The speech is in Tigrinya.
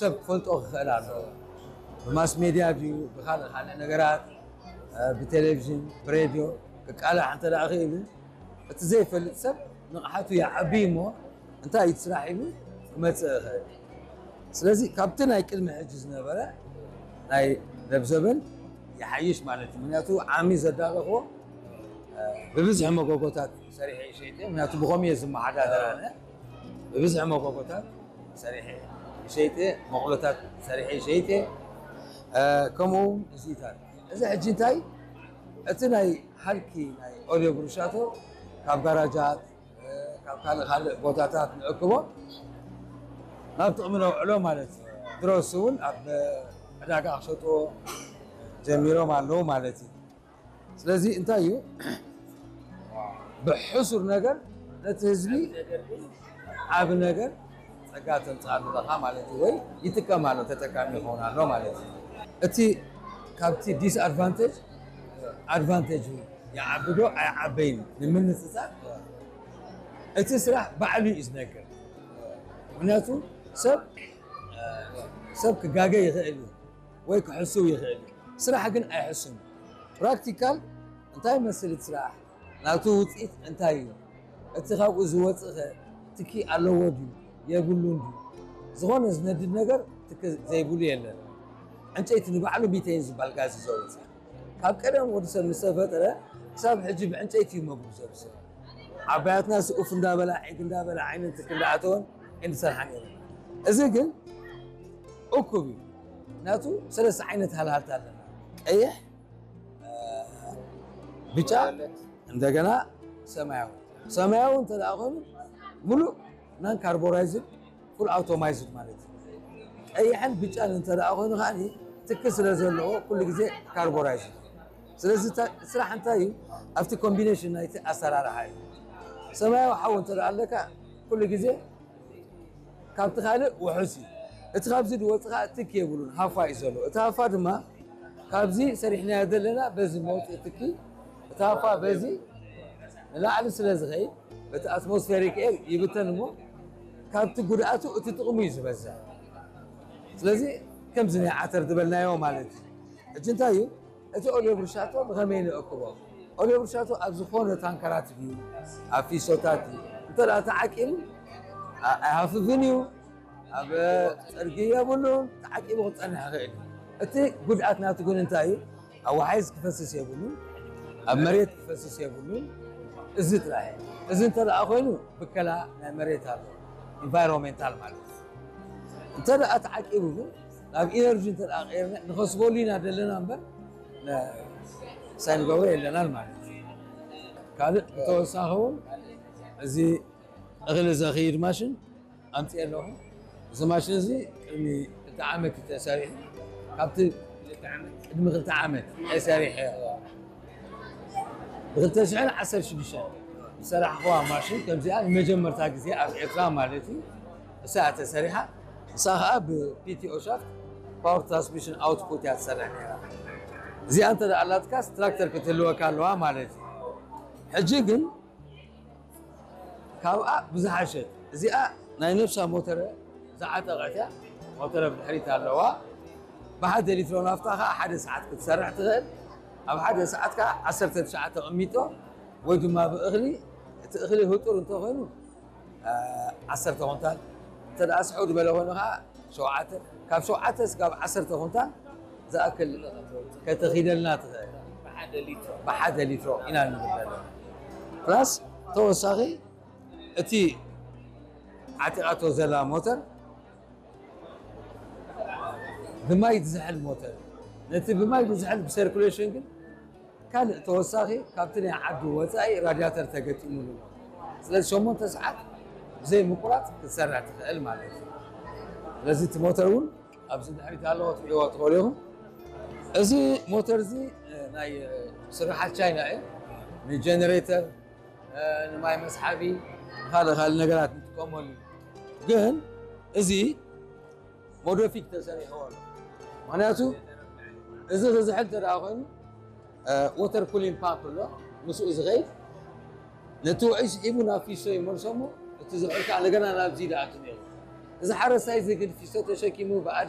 ሰብ ክፈልጦ ክኽእል ኣለዎ። ብማስ ሜድያ ድዩ፣ ብካልእ ካልእ ነገራት፣ ብቴሌቪዥን፣ ብሬድዮ ክቃላሕ እንተ ደኣ ክኢሉ፣ እቲ ዘይፈልጥ ሰብ ንቕሓቱ ይዓቢ እሞ እንታይ እዩ እቲ ስራሕ ኢሉ ክመጽእ ይኽእል። ስለዚ ካብቲ ናይ ቅድሚ ሕጂ ዝነበረ ናይ ለብዘበን ይሓይሽ ማለት እዩ። ምክንያቱ ዓሚ ዘዳለኽዎ ብብዝሒ መጎጎታት ሰሪሐ ይሸይጠ፣ ምክንያቱ ብኸምኡ እየ ዝመሓዳደር ኣነ። ብብዝሒ መጎጎታት ሰሪሐ ይሸይጠ፣ መቑሎታት ሰሪሐ ይሸይጠ፣ ከምኡ እውን እዚታት። እዚ ሕጂ እንታይ እቲ ናይ ሃልኪ ናይ ኦልዮ ብሩሻቶ ካብ ጋራጃት ካብ ካልእ ካልእ ቦታታት ንእክቦ ናብ ጥቕሚ ነውዕሎ ማለት እዩ። ድሮስ እውን ኣብ ዕዳጋ ክሸጥዎ ጀሚሮም ኣለዉ ማለት እዩ። ስለዚ እንታይ እዩ ብሕሱር ነገር ነቲ ህዝቢ ዓቢ ነገር ጸጋ ተምጽኣሉ ኣለኻ ማለት እዩ፣ ወይ ይጥቀም ኣሎ፣ ተጠቃሚ ይኸውን ኣሎ ማለት እዩ። እቲ ካብቲ ዲስኣድቫንቴጅ ኣድቫንቴጅ ይዓብዶ ኣይዓበይን ንምንጽጻር እቲ ስራሕ ባዕሉ እዩ ዝነግር። ምክንያቱ ሰብ ሰብ ክጋገ ይኽእል እዩ ወይ ክሕስው ይኽእል እዩ። ስራሕ ግን ኣይሕስም። ፕራክቲካል እንታይ መስል እቲ ስራሕ ናቱ ውፅኢት እንታይ እዩ? እቲ ካብኡ ዝወፅእ ኸ ትኪ ኣለዎ ድዩ የብሉን ድዩ? ዝኾነ ዝነድድ ነገር ትኪ ዘይብሉ የለን። ዕንጨይቲ ንባዕሉ ቢተይን ዝበሃል ጋዝ እዩ ዘውፅእ። ካብ ቀደም ወዲ ሰብ ምስ ተፈጠረ ክሳብ ሕጂ ብዕንጨይቲ እዩ መግቡ ዘብስል። ዓባያትና ሲ ኡፍ እንዳበላ ዒግ እንዳበላ ዓይነን ትኪ እንዳኣተወን እንድሰርሓ ነይሩ። እዚ ግን እኩብ እዩ። ምክንያቱ ሰለስተ ዓይነት ሃልሃልታ ኣለና። ቀይሕ፣ ብጫ፣ እንደገና ሰማያዊ። ሰማያዊ እንተ ደኣ ኮይኑ ሙሉእ ናን ካርቦራይዝድ ፉል ኣውቶማይዝድ ማለት እዩ። ቀይሕን ብጫን እንተ ደኣ ኮይኑ ከዓ ትኪ ስለ ዘለዎ ኩሉ ግዜ ካርቦራይዝድ። ስለዚ ስራሕ እንታይ እዩ ኣብቲ ኮምቢኔሽን ናይቲ ኣሰራርሓ እዩ። ሰማያዊ ሓዊ እንተ ደኣ ኣለካ ኩሉ ግዜ ካብቲ ካልእ ውሑስ እዩ። እቲ ካብዚ ዝወፅእ ከዓ ትኪ የብሉን፣ ሃፋ እዩ ዘሎ። እቲ ሃፋ ድማ ካብዚ ሰሪሕናዮ ዘለና በዚ መውፅኢ ትኪ እቲ ሃፋ በዚ ንላዕሊ ስለ ዝኸይድ በቲ ኣትሞስፌሪክ ኤር ይብተን እሞ ካብቲ ጉድኣቱ እቲ ጥቕሙ እዩ ዝበዝሕ። ስለዚ ከምዚ ናይ ዓተር ዝበልናዮ ማለት እዩ። ሕጂ እንታይ እዩ እቲ ኦልዮ ብርሻቶ ብኸመይ ንእክቦ? ኦልዮ ብርሻቶ ኣብ ዝኾነ ታንከራት ድዩ ኣብ ፊሶታት ድዩ እንተ ተዓቂቡ ኣይሃፍፍን እዩ። ኣብ ጸርጊ የብሉን፣ ተዓቂቡ ክጸንሕ ይኽእል እዩ። እቲ ጉድኣት ናቱ ግን እንታይ እዩ? ኣብ ወሓይዝ ክፈስስ የብሉን፣ ኣብ መሬት ክፈስስ የብሉን። እዚ ጥራሕ እዩ። እዚ እንተ ደኣ ኮይኑ ብከላ ናይ መሬት ኣሎ፣ ኢንቫይሮንሜንታል ማለት እዩ። እንተ ደኣ ተዓቂቡ ግን ናብ ኢነርጂ እንተ ደኣ ቀይርና ንኸስበሉ ኢና ዘለና እምበር ሳይንገብሮ የለናን ማለት እዩ። ካልእ ብተወሳኺ እውን እዚ እኽሊ ዘኽይድ ማሽን ኣምፅኤ ኣለኹ። እዚ ማሽን እዚ ቅድሚ ክልተ ዓመት እዩ ተሰሪሑ። ካብቲ ቅድሚ ክልተ ዓመት ተሰሪሐ ብክልተ ሽሕን ዓሰርተ ሽዱሽተን ዝሰራሕኽዋ ማሽን ከምዚኣ ንመጀመርታ ግዜ ኣብ ኤርትራ ማለት እዩ እሳ እያ ተሰሪሓ። እሳ ከዓ ብፒቲኦ ሻፍት ፓወር ትራንስሚሽን ኣውትፑት እያ ትሰርሕ ነይራ። እዚኣ እንተ ደኣ ኣላትካስ ትራክተር ክትህልወካ ኣለዋ ማለት እዩ። ሕጂ ግን ካብኣ ብዝሓሸት እዚኣ ናይ ነብሳ ሞተረ ዝዓጠቐት እያ። ሞተረ ብድሕሪት ኣለዋ። ብሓደ ሊትሮ ናፍታ ከዓ ሓደ ሰዓት ክትሰርሕ ትኽእል። ኣብ ሓደ ሰዓት ከዓ ዓሰርተ ትሽዓተ ቅሚጦ ወይ ድማ ብእኽሊ እቲ እኽሊ ህጡር እንተኾይኑ ዓሰርተ ኩንታል እንተ ደኣ ስሕው ዝበለ ኮይኑ ከዓ ሸውዓተ ካብ ሸውዓተ እስካብ ዓሰርተ ኩንታል ዝኣክል ከተኺደልና ትኽእል ብሓደ ሊትሮ ኢና ንብል ዘለና። ፕላስ ተወሳኺ እቲ ዓጢቓቶ ዘላ ሞተር ብማይ ዝዝሕል ሞተር ነቲ ብማይ ዝዝሕል ብሰርኩሌሽን ግን ካልእ ተወሳኺ ካብቲ ናይ ዓዲ ወፃኢ ራድያተር ተገጢሙሉ ኣሎ። ስለዚ ሸሞንተ ሰዓት ብዘይ ምቁራፅ ክትሰርሕ ትኽእል ማለት እዩ። ስለዚ እቲ ሞተር እውን ኣብዚ ድሕሪት ኣለዎ ትሪእዎ ትኽእሉ ኢኹም። እዚ ሞተር እዚ ናይ ስርሓት ቻይና እዩ። ንጀነሬተር ንማይ መስሓቢ ንካልእ ካልእ ነገራት ንጥቀመሉ እዩ። ግን እዚ ሞዶፊክ ተሰሪሕዎ ኣሎ። ምክንያቱ እዚ ክዝሕል እንተ ደኣ ኮይኑ ወተር ኩሊን ፓምፕ ኣሎ ምስኡ ዝኸይድ ነቲ ውዑይ ስሒቡ ናብ ፊሶ ይመልሶ እሞ እቲ ዝሑል ከዓ እንደገና ናብዚ ይኣቱ ነይሩ። እዚ ሓረስታይ እዚ ግን ፊስቶ ተሸኪሙ ብኣድ